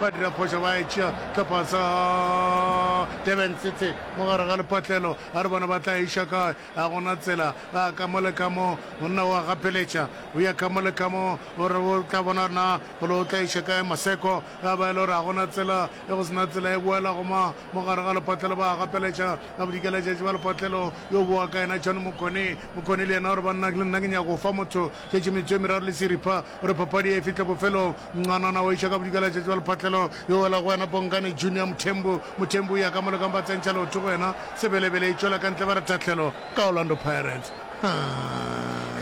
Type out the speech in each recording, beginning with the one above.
Ba dira phošo ba e tšea hlopha sa Durban City mo gare ga lepatlelo. A re bone ba tla iša kae. Ga go na tsela. Ba ka mo le ka mo. Monna o a gapeletša. O ya ka mo le ka mo. O re o tla bona gore na bolo o tla iša kae Maseko. Ga ba e le gore ga go na tsela. E go se na tsela e boela go ma mo gare ga lepatlelo. Ba a gapeletša. Ka bodikelatšatši ba lepatlelo yo boa ka yena John Mokone. Mokone le yena o re banna le nna ke nyaka go fa motho šetše metsotso e meraro le seripa gore papadi e fihle bofelong. Nqanana o iša ka bodikelatšatši ba lepatlelo yo wela go yena Bongani Junior Mthembu. Mthembu o ya ka mo le ka mo ba tsentšha leoto go yena. Sebelebele e tšwela ka ntle ba re tahlelo ka Orlando Pirates.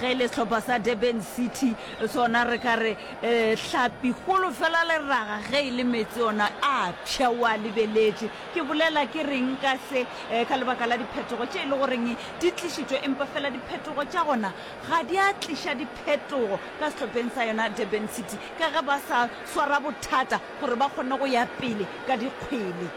Ge e le sehlopha sa Durban City sona re ka re hlapi kgolo fela leraga ge e le meetse ona a pšha o a lebeletše. Ke bolela ke reng ka se? Ka lebaka la diphetogo tše e le goreng di tlišitšwe, empa fela diphetogo tša gona ga di a tliša diphetogo ka sehlopheng sa yona Durban City, ka ge ba sa swara bothata gore ba kgone go ya pele ka dikgwele.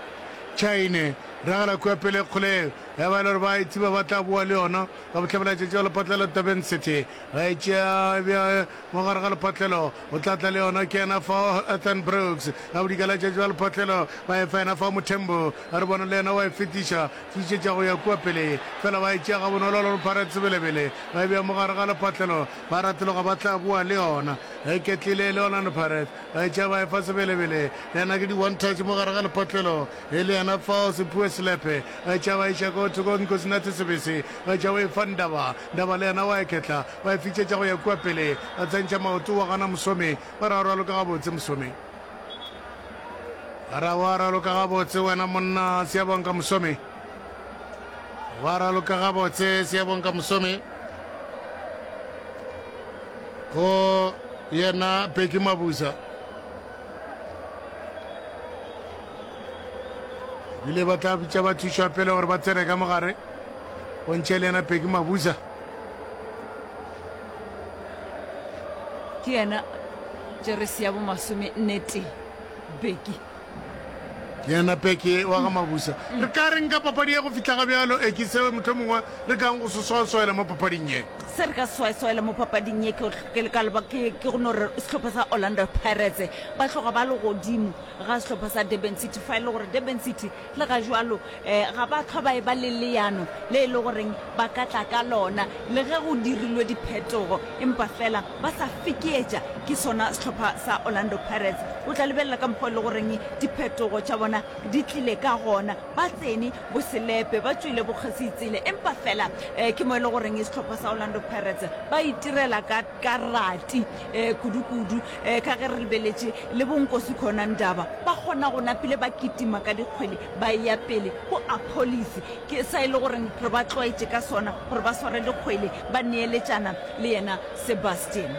Chaine ragela kua pele kgoleng ya ba e le gore ba e tseba ba tla boa le yona ka bohlabelatšatši wa lephatla la Durban City. Ba e tšea bja Mo gare ga lephatlelo o tla tla le yona ke yena fao Ethan Brooks. Ka bodikelatšatši bja lephatlelo ba e fa yena fao Muthembu. Re bone le yena wa e fetiša, fetišetša go ya kua pele. Fela ba e tšea gabonolo Orlando Pirates Sebelebele. Ba e bea mo gare ga lephatlelo, ba ratologa ba tla boa le yona. E ketlile le Orlando Pirates. Ba e tšea ba e fa Sebelebele. Le yena ke di one touch mo gare ga lephatlelo. E le yena fao Siphiwe Selepe. Ba e tšea ba iša ko thoko Nkosinathi Sebese. Ba e tšea ba e fa Ndaba. Ndaba le yena wa e ketla. Ba e fitšetša go ya kua pele, ba tsentšha maoto wa gana Mosomi, ba re a raloka gabotse Mosomi. Ba re wa raloka gabotse wena monna Siyabonga Mosomi. Wa raloka gabotse Siyabonga Mosomi. Go yena Bheki Mabuza. Bile ba tla bitša ba thušwa pele gore ba tsene ka mogare. Bontšhe le yena Peki Mabuza. Ke yena jeresi ya bomasome nnete Beki. Ke yena Peki wa ga Mabuza. Re ka reng ka papadi ye go fihla ga bjalo? E ke seo mohlomongwe re kang go se swaswaela mo papading ye. Se re ka se swaswaela mo papading ye ke ke ka leba ke ke go no re sehlopha sa Orlando Pirates ba tloga ba le godimo ga sehlopha sa Durban City fa e le gore Durban City Le ga jwalo, ga ba hlwa ba eba le leano le e le goreng ba ka tla ka lona, le ge go dirilwe diphetogo, empa fela ba sa fekeetša ke sona sehlopha sa Orlando Pirates. O tla lebelela ka mokgwa e le goreng diphetogo tša bona di tlile ka gona. Ba tsene boselepe, ba tšwile bokgositsele, empa fela ke mo e le goreng sehlopha sa Orlando Pirates ba itirela ka ka rati kudu-kudu ka ge re lebeletše le bo Nkosi Khona Ndaba ba kgona go napile ba kitima ka dikgwele ba eya pele go Appollis ke sa e le goreng re ba tlwaetše ka sona gore ba sware dikgwele ba neeletšana le yena Sebastian.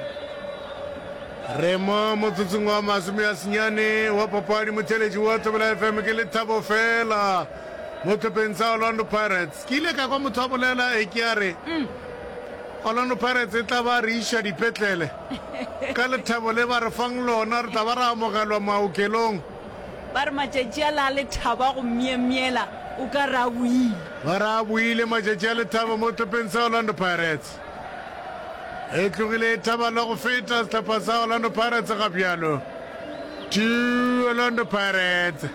Re mo motsotsong wa masomeasenyane wa papadi motheeletši wa Thobela FM ke lethabo fela mo hlopheng sa Orlando Pirates. Ke ile ka kwa motho a bolela e ke a re Orlando Pirates e tla ba re iša dipetlele ka lethabo le ba re fang lona, re tla ba ra amogelwa maokelong. Ba re matšatši a la a lethabo a go myemyela o ka re a boile. Ba re a boile matšatši a lethabo mo hlopheng sa Orlando Pirates. E tlogile e thaba le go feta sehlopha sa Orlando Pirates ga bjalo. 2 Orlando Pirates.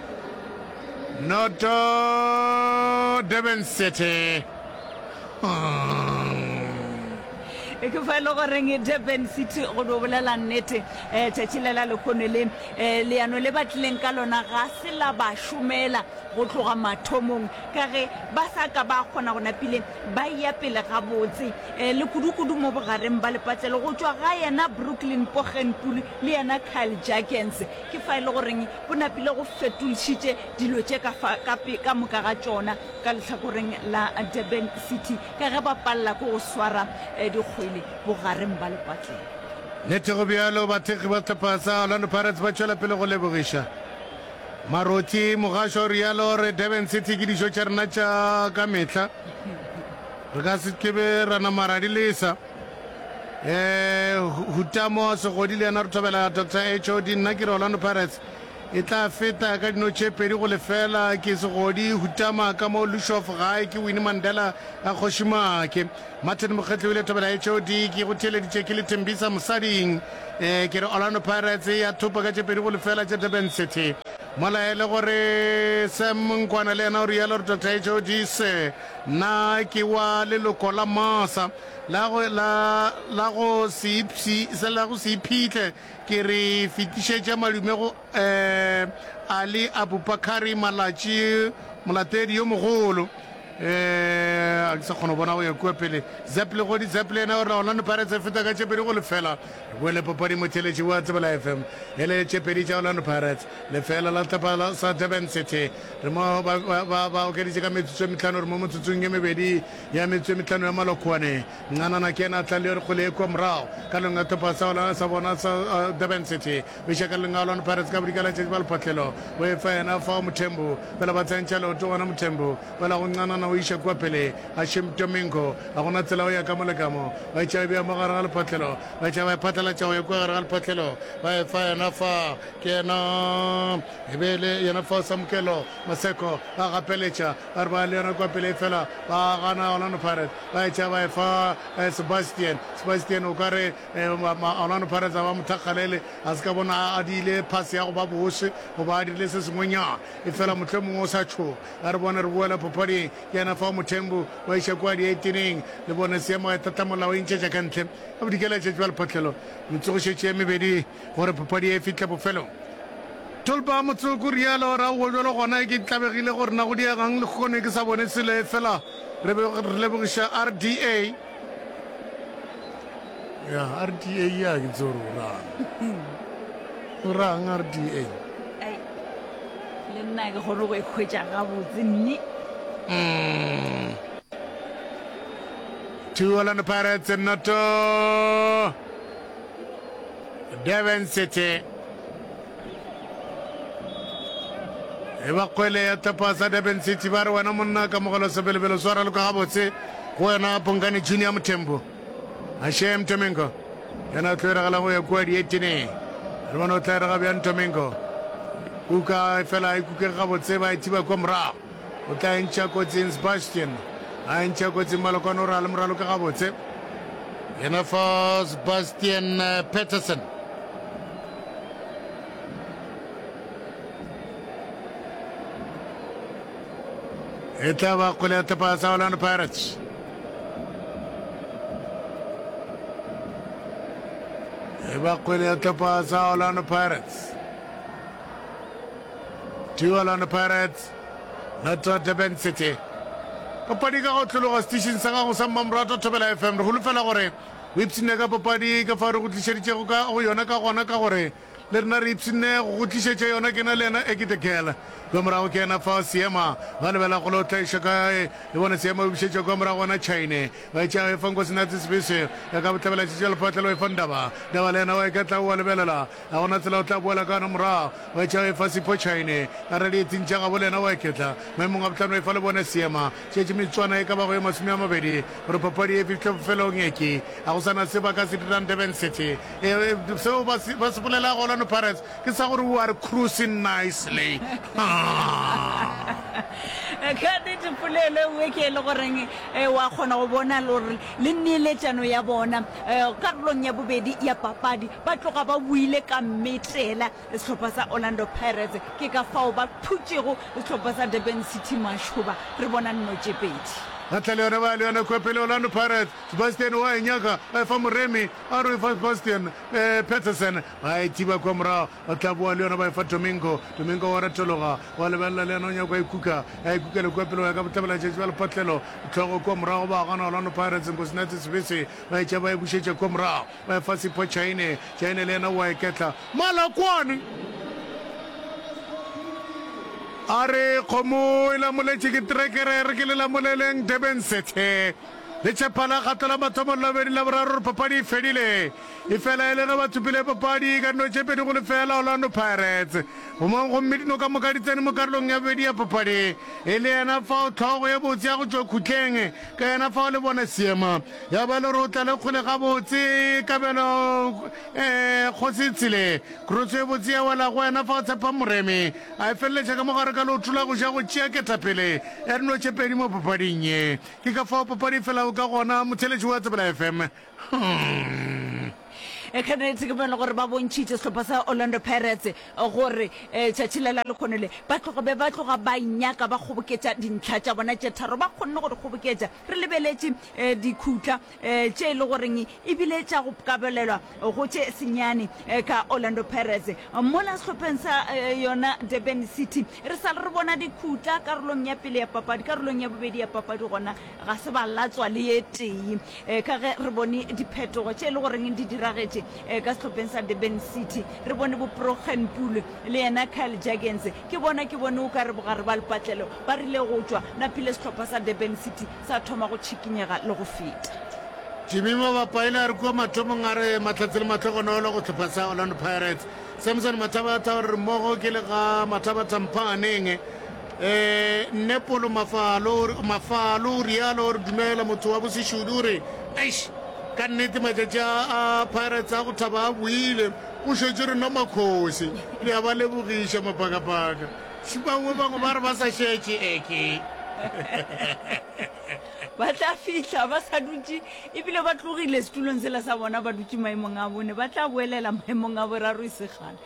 Noto Durban City. Ke fa e le goreng Durban City go no bolela nnete um tšatši le la lekgono le um leano le ba tlileng ka lona ga se la ba šomela go tloga mathomong ka ge ba sa ka ba kgona go napile ba eya pele gabotse um le kudu-kudu mo bogareng ba lepatlelo go tšwa ga yena Brooklyn Poggenpoel le yena Kyle Jacgens ke fa e le goreng Go napile go fetolšitše dilo tše ka fa ka pe ka moka ga tšona ka lehlakoreng la Durban City ka ge ba palela ke go swara dikgwele bogareng ba lepatlelo. Nnete go bjalo, bathekgi ba sehlopha sa Orlando Pirates ba tšwela pele go lebogiša Marothi Mogasho o realo re Durban City ke dijo tša rena tša ka mehla. Re ka se ke be ra nama ra di lesa. Eh, Hutamo Segodi le yena re thobela Doctor HOD. Nna ke re Orlando Pirates. e tla feta ka dino tše 2-0 ke Segodi Hutama ka mo Lushof gae ke Winnie Mandela a Kgoši Maake. Martin Mokgetli o ile thobela HOD ke go theeleditše ke le Thembisa Mosading. E, ke re Orlando Pirates ya thopa ka tše 2-0 tša Durban City. Mola e le gore Sam Nkwana le yena o rialo gore Doctor HOD se na ke wa leloko la Masa la go la la go se ipshi la go se iphihle ke re fetišetša madume go eh Ali Abubakari Malatši molatedi yo mogolo. Eh, a ke sa kgona go bona go ya kua pele. Zep Legodi Zep le yena o re Orlando Pirates e feta ka tše 2-0. Re boele papading motheeletši wa Tsebela FM. E le tše pedi tša Orlando Pirates, lefela la sehlopha sa Durban City. Re mo ba, ba, ba, ba okeditše ka metsotso e mehlano, re mo metsotsong e mebedi ya metsotso e mehlano ya malokwane. Ncanana ke yena a tla le yone kgwele e kua morago karolong ya sehlopha sa, sa bona sa uh, Durban City. O iša karolong ya Orlando Pirates ka bodikela tšatši ba lephatlelo. O e fa yena fao Mothembu. Fela ba tsentšha leoto gona Mothembu. Fela go Ncanana o iša kua pele. Hashim Domingo. Ga gona tsela o ya ka mo le ka mo. Ba etša e bea mo gare ga lephatlelo. Ba etša ba e phatlalatša go ya kua gare ga lephatlelo. Ba e fa yena fa. Ke yena e be e le yena fa Samukelo Maseko. Ba gapeletša. Ba re ba le yona kua pele efela ba gana Orlando Pirates. Ba etša ba e fa Sebastian. Sebastian o ka re Orlando Pirates a ba mo thakgalele. A se ka bona a diile phase ya go ba bose goba a dirile se sengwenyana. Efela mohlomongwe o sa tšhoga. A re bone re boela papading. Ke yena fao Mothembu wa iša kua dieteneng. Le bone seemo e tlhatlamolao e ntšhetša ka ntle. A bodikela tšatši ba lephatlelo. Metsogošetše ye mebedi gore papadi e fihle bofelong. Tolpa Motsoko rialo ra go bjalo gona ke tlabegile gore na go diegang lehono ke sa bone selo efela re be re lebogiša RDA. Ya RDA ya ke tsore o rang. O rang RDA? Ai, le nna ke kgone go e hwetša gabotse nne. Mm. Two Orlando Pirates noto Durban City. E ba kgwele ya tlhopha sa Durban City ba re wena monna kamogelo sebelebelo swara loka gabotse go wena Bongani Junior Mothembo. Hashem Tomingo yena o tlo eragela go ya kua dieteneng. Re bone o tla erega bjang Tomingo. Kuka fela e kukege gabotse ba e thiba kua morago. O tla e ntšha kotsing Sebastian. A e ntšha kotsing Malokwane o ra le moraloka gabotse. Yena fa Sebastian eh, Peterson. E tla ba kgwele ya tlhopha sa Orlando Pirates. E ba kgwele ya tlhopha sa Orlando Pirates. Two Orlando Pirates, noto Durban City. Papadi ka go tlologa setišing sa gago sa Mmamoratwa Thobela FM. Re holofela gore o ipshinne ka papadi ka fao re go tlišeditšego ka go yona ka gona ka gore le rena re ipshinne go go tlišetša yona. Ke na le yena Eki the Girl. Kua morago ke yena fao Seema ba lebela golo o tla iša kae le bone Seema o bušetša kua morago gona Chaine ba etša e fa Nkosinathi Sibisi ya ka bohlabela tšetša lephatla le o e fa Ndaba Ndaba le yena wa iketla o a lebelela Ga go na tsela o tla boela ka yona morago. Wa etša efa Sipho Chaine a re dietsing tša gabo le yena wa iketla. Maemong a bohlano efa le bone seema. Šetše metswana e ka bago ye 20 gore papadi e fihle bofelong. Eke ga go sa na se ba ka se dirang Durban City. E, e, seo ba se, ba se bolelago Orlando Pirates ke sa gore we are cruising nicely. Ka nnete polelo e nngwe ke e le goreng eh, wa kgona go bona le gore le neeletšano ya bona eh, karolong ya bobedi ya papadi Ba tloga ba boile ka mmetela sehlopha sa Orlando Pirates, ke ka fao ba phutšego sehlopha sa Durban City mašoba. Re bona nno tše pedi. Ba tla le yona, ba ya le yona kua pele. Orlando Pirates, Sebastian o a e nyaka, ba e fa Moremi, a re o e fa Sebastian Petersen, ba e thiba kua morago, ba tla boa le yona ba e fa Domingo, Domingo wa retologa, wa lebelela le yena o nyaka e kuka, a e kukela kua pele go ya ka bohlabela-tšatši bja lepatlelo, hlogo kua morago ba gana Orlando Pirates, Nkosinathi Sibisi ba e tšea ba e bušetša kua morago. Ba efa Sipho Chaine, Chaine le yena o a iketla. Malakwane a re kgomo e lamoletše ke trekere, re ke le lamoleleng Durban City. Letšhepa la kgato la mathomo la bobedi la boraro gore papadi e fedile. Efela e le ge ba thopile papadi ka dino tše 2-0 Orlando Pirates. Gomang gomme dino ka moka di tsene mo karolong ya bobedi ya papadi. E le yena fao hlogo ye botse ya go tšwa khutleng ka yena fao le bona seema ya ba le gore o tla le kgole gabotse Kabelo eh, Kgosi Tshile. Kroso ye botse ya wela go yena fao Tshepang Moremi a e feleletša ka mogare ka leoto la go ja go tšea ketapele ya dino tše pedi mo papading ye. Ke ka fao papadi e felago ka gona, motheeletši wa Tsebela FM. Hmm. Ka nnete ke bone gore ba bontšhitše sehlopha sa Orlando Pirates gore tšatši le la lekgono le ba tloga be ba tloga ba nyaka ba kgoboketša dintlha tša bona tše tharo, ba kgonne go di kgoboketša. Re lebeletše dikhutla tše e le goreng e bile tša go kabelelwa go tše senyane ka Orlando Pirates. Mola sehlopheng sa yona Durban City re sa le re bona dikhutla karolong ya pele ya papadi, karolong ya bobedi ya papadi gona ga se ba latswa le ye tee. Ka ge re bone diphetogo tše e le goreng di diragetše ka sehlopheng sa Durban City, re bone bo Progen Pule le yena Kyle Jurgens, ke bona ke bone o ka re bogare ba lepatlelo ba rile go tšwa, napile sehlopha sa Durban City sa thoma go tšhikinyega le go feta. Jimmy Mabapa ile a re kua mathomong a re mahlatse le mahlogonolo go hlopha sa Orlando Pirates. Samson Mathabatha o re mmogo ke le ga Mathabatha Mphaaneng. Eh, nne Polo Mafalo, Mafalo o rialo o re dumela motho wa bosešudu o re eish ka nnete matšatši a a Pirates a go thaba a boile go šetše rena makgosi le a ba lebogiša mapakapaka. Bangwe bangwe ba re ba sa šetše eke. Ba tla fihla ba sa dutše ebile ba tlogile setulong sela sa bona ba dutše maemong a bone, ba tla boelela maemong a boraro e se kgale.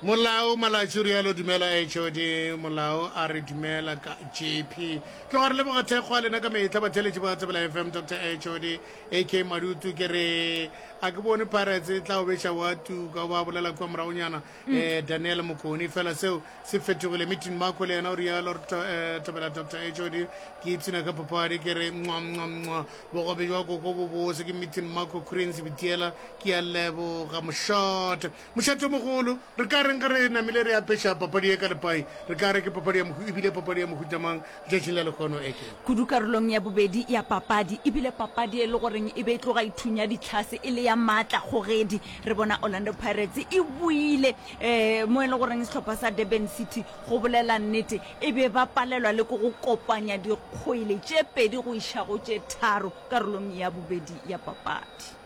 Molao Malatši o rialo dumela HOD Molao a re dumela ka JP. Tloga re leboga thekgo ya lena ka mehla batheeletši ba Tsebela FM Dr HOD AK Madutu ke re a ke bone Pirates e tla o beša wa tuka o ba bolela kua moragonyana eh, Daniel Mokoni fela seo se fetogile meeting Marco le yena o rialo re eh, thobela Dr HOD ke ipshina ka papadi ke re mwa mwa mwa bogobe jwa koko bo bose ke meeting Marco Cranes Bitiela ke a leboga mošate mošate o mogolo re ka reng ge re namile re apeša papadi ye ka lepai re ka re ke papadi ya mohu ebile papadi ya mohuta mang letšatšing la lekgono eke Kudu karolong ya bobedi ya papadi, e bile papadi e le goreng e be e tloga e thunya ditlhase e le ya maatla kgogedi. Re bona Orlando Pirates e boile um mo e le goreng sehlopha sa Durban City, go bolela nnete, e be ba palelwa le ke go kopanya dikgwele tše pedi go iša go tše tharo karolong ya bobedi ya papadi.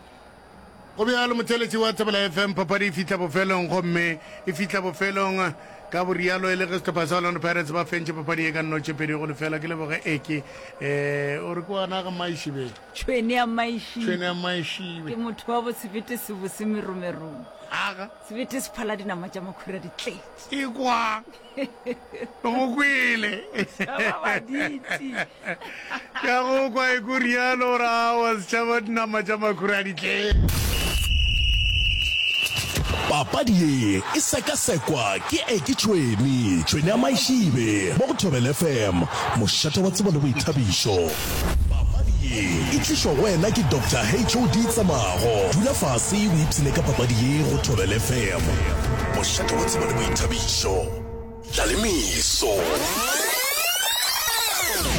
Go bjalo, motheeletši wa Thobela FM, papadi e fihla bofelong gomme e fihla bofelong ka borialo e le ge sehlopha sa Orlando Pirates ba fentše papadi ye ka nno tše 2-0. Ke leboge Eke. Eh, o re ke wa naga Maišibe. Tšhwene ya Maišibe. Tšhwene ya Maišibe. Ke motho wa bo sebete se bose meromerong. Aga. Sebete se phala dinama tša makhura di tletše. Ekwa. Go kwele. Setšhaba baditi. Ke a go kwa e ko rialo gore aowa setšhaba dinama tša makhura di tletše. Papadi ye e sekasekwa ke Eke Tšhwene, Tšhwene ya Maišibe, mo go Thobela FM, mošate wa tsebo le boithabišo. Papadi ye e tlišwa go wena ke Doctor HOD Tsamago. Dula fase o ipshine ka papadi ye go Thobela FM, mošate wa tsebo le boithabišo. Tlalemeso.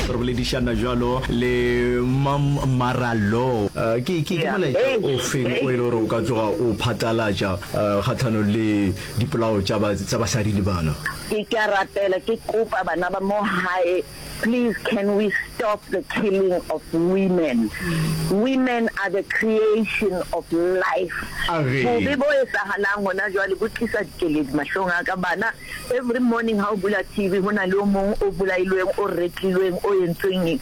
Re boledišana bjalo le Mam Maralo. Ke, ke, ke molaetša o feng o e le gore o ka tloga o phatlalatša kgahlanong le dipolao tša ba, tša basadi le bana? Ke, ke a rapela, ke kopa bana ba mo hae, please can we stop the killing of women? Women are the creation of life. Bobe bo etsahalang hona jwale bo tlisa dikeledi mahlong a ka. Bana Every morning ha o bula TV ho na le o mong o bolailweng, o retlilweng, o entsweng eng.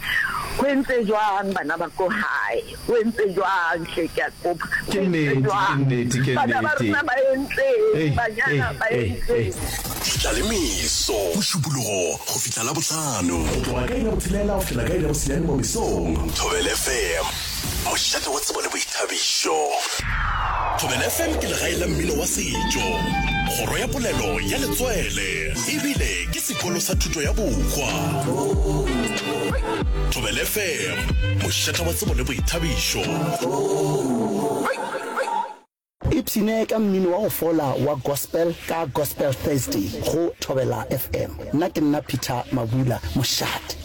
Ho entse jwang bana ba ko hae? Ho entse jwang hle ke a kopa. Ho Ke entse nnete, ke jwang? nnete, ke Bana ba nnete. rona ba entseng? Ei, Banyana ei, ba ei, ei. entseng? Ditlalemeso, Mošupologo go fihla Labohlano. Go tloga ka iri ya botshelela go fihlela ka iri ya bosenyane mo mesong. Thobela FM, mošate wa tsebo le boithabišo. Thobela FM ke legae la mmino wa setšo, kgoro ya polelo ya letswele, ebile ke sekolo sa thuto ya bohwa. Thobela FM, mošate wa tsebo le boithabišo. Ipshine ka mmino wa go fola wa gospel ka Gospel Thursday go Thobela FM. Nna ke nna Peter Mabula, mošate.